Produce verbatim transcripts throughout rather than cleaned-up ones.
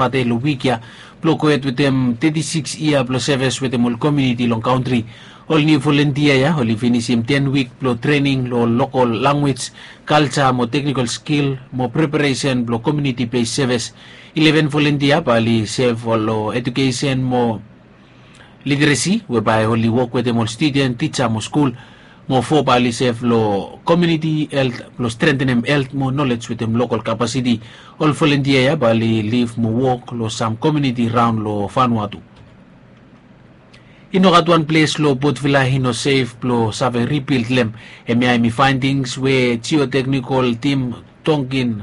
Pate long wik ya blong gohed wetem teti sikis yia blong sevis wetem ol komuniti long kantri. Ol niu volontia ya oli finisim ten wik blong trening long ol lokol lanwis, kalja mo teknikol skil mo preparesen blong komuniti bes sevis. Ileven volontia bae oli sev long edukesen mo literesi we bae oli wok wetem ol studen, tija mo skul. Mo fo bae oli sev long komuniti helt blong strentenem helt mo nolej wetem lokol kapasiti. Ol volontia ya bae oli liv mo wok long sam komuniti raon long Vanuatu. I no gat wan ples long Port Vila i no sef blong save ribild long hem. Hemia hemi faendings we jioteknikol tim Tonkin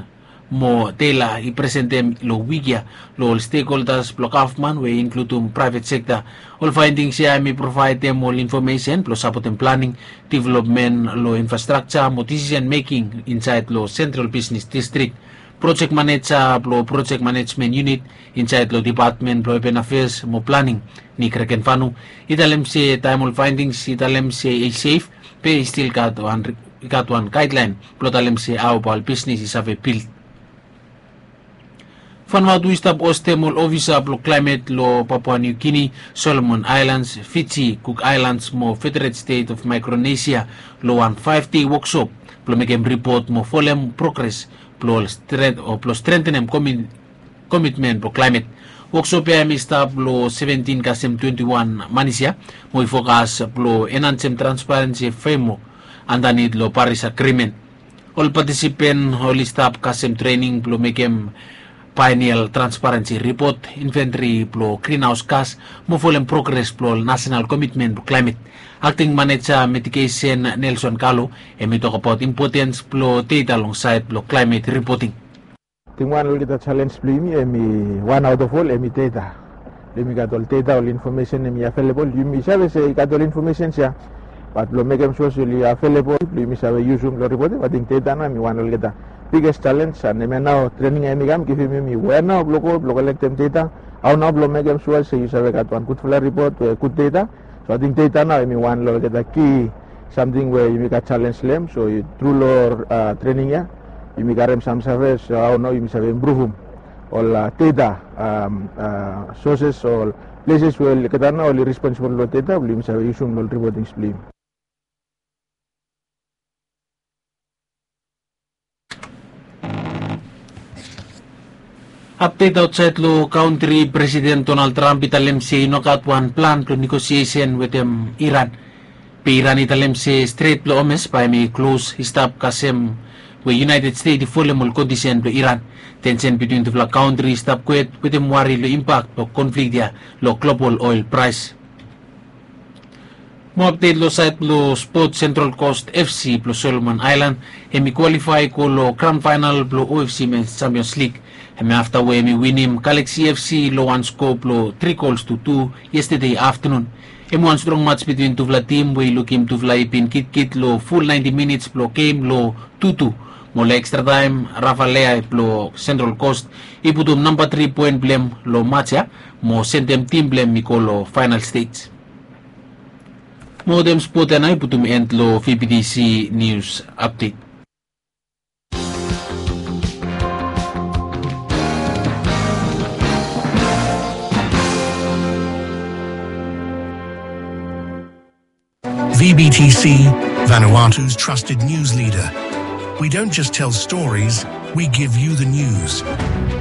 mo Taylor i presentem long wik ya long ol stekholdas blong gavman we i inkludum praevet sekta. Ol faendings ya hemi provaedem ol infomesen blong sapotem planing, developmen long infrastrakja mo disisen meking insaed long sentral bisnes distrik. Projek maneja blong projek manejmen yunit insaed long depatmen blong apen afeas mo planing, Nick Rekenvanu, i talem se taem ol faendings i talem se i sef, be i stil gat wan, i gat wan gaedlaen blong talem se hao bae ol bisnes i save bild. Vanuatu i stap hostem ol ofisa blong klaemet long Papua Niu Gini, Solomon Aelans, Fiji, Kuk Aelans mo Federet Stet of Maekronesia long wan faef dei woksop blong mekem ripot mo folem progres blong stren- o blong strentenem komi- komitmen blong klaemet. Woksop ya hemi stap long seventin kasem twenti wan manis ya mo i fokas blong enhansem transparensi fremwok andanit long Paris Agrimen. Ol patisipen oli stap kasem trening blong mekem baenial transparensi ripot, inventri blong grinhaos gas mo folem progres blong ol nasenal komitmen blong klaemet. Akting maneja mitigesen Nelson Kalo hemi tokbaot impotens blong deta long saed blong klaemet ripoting. Ating wan olgeta jalenj blong yumi hemi wan aot of ol hemi deta. Blong yumi gat ol deta, ol infomesen hemi avelebol, yumi save se i gat ol infomesens ya, bat blong mekem sua se oli avelebol blong yumi save yusum long ripoting, ating deta nao hemi wan olgeta biges jalenj. An hemia nao trening ya hemi kam givim yumi wea nao blong go blong kolektem deta, hao nao blong mekem sua se yu save gat wan gudfala ripot we gud deta. So ating deta nao hemi wan long olgeta ki samting we yumi gat jalenj long hem. So tru long trening ya yumi karem sam save, so hao nao yumi save impruvum ol deta soses o pleses we olgeta nao oli responsibol long deta blong yumi save yusum long ol ripotings blong yumi. Apdet aotsaed long kantri, Presiden Donald Trump i talem se i no gat wan plan blong negosiesen wetem Iran. Be Iran i talem se Stret blong Hormuz bae hemi klos i stap kasem we United States i folem ol kondisen blong Iran. Tensen bitwin tufala kantri i stap gohed wetem wari long impak blong konflik ya long global oel praes. Mo apdet long saed blong spot, Central Coast FC blong Solomon Aelan hemi kwalifae go long gran faenal blong OFC Mens Champions League. Hemi afta we hemi winim Galaxy FC long wan skoa blong tri gols tu tu yestede aftanun. Hemi wan strong mats bitwin tufala tim we i lukim tufala i bin gitkit long ful naenti minits blong gem long tu tu. Mo long ekstra taem Rafa Leai blong Central Coast i putum namba tri poen blong hem long mats ya mo sendem tim blong hem i go long faenal stej. Mo wetem spot ya nao i putum en long VBTC nius apdet. VBTC, Vanuatu's trusted news leader. We don't just tell stories, we give you the news.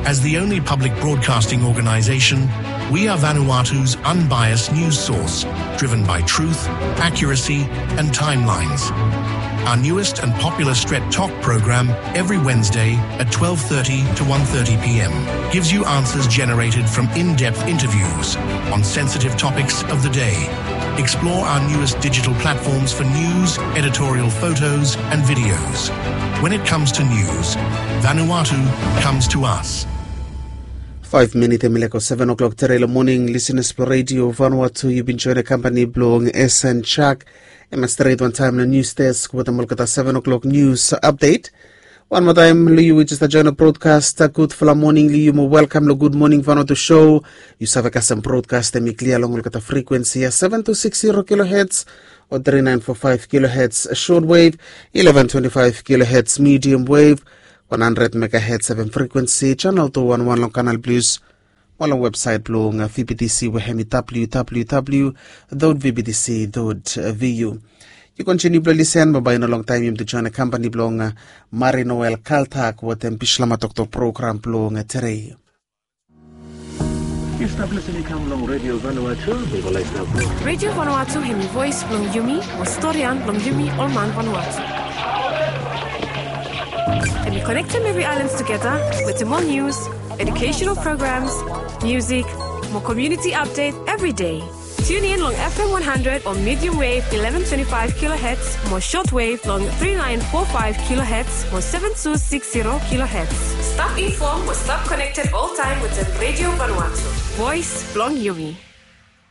As the only public broadcasting organization, we are Vanuatu's unbiased news source, driven by truth, accuracy, and timelines. Our newest and popular Stret Tok program, every Wednesday at twelve thirty to one thirty p.m., gives you answers generated from in-depth interviews on sensitive topics of the day. Explore our newest digital platforms for news, editorial photos, and videos. When it comes to news, Vanuatu comes to us. Faef minit hemi laek go seven o'clock tere long moning. Lisenas blong Redio Vanuatu, yu bin joen kampani blong S N Chak. Hemia stret wantaem long nius desk wetem olgeta seven o'clock nius apdet. Wan moa taem long yu we jes stap joen brodkas, gudfala moning long yu mo welkam long Gud Moning Vanuatu show. Yu save kasem brodkas hemi klia long olgeta frikwensi ya, seven two six zero kilohertz o three nine four five kilohertz shortwave, eleven twenty-five kilohertz medium wave, one hundred megahertz FM frikwensi, channel two one one long Canal Plus. mo long websaet blong V B T C we hemi W W W dot V B T C dot V U. Yu kontiniu blong lisen mo bae i no longtaem yumi tu joen kambani blong Marie Noel Kaltak wetem Bislama Toktok program blong tedei. Yu stap lisin i kam long Radio Vanuatu. Radio Vanuatu hemi voes blong yumi mo storian blong yumi ol man Vanuatu. Hemi konektem evri aelan tugeta wetem ol nius, educational programs, musik mo community update evri dei. Tune in long F M one hundred o medium wave eleven twenty-five kilohertz mo short wave long three nine four five kilohertz mo seven two six zero kilohertz. Stap inform mo stap konekted oltaem wetem Radio Vanuatu. Voes blong yumi.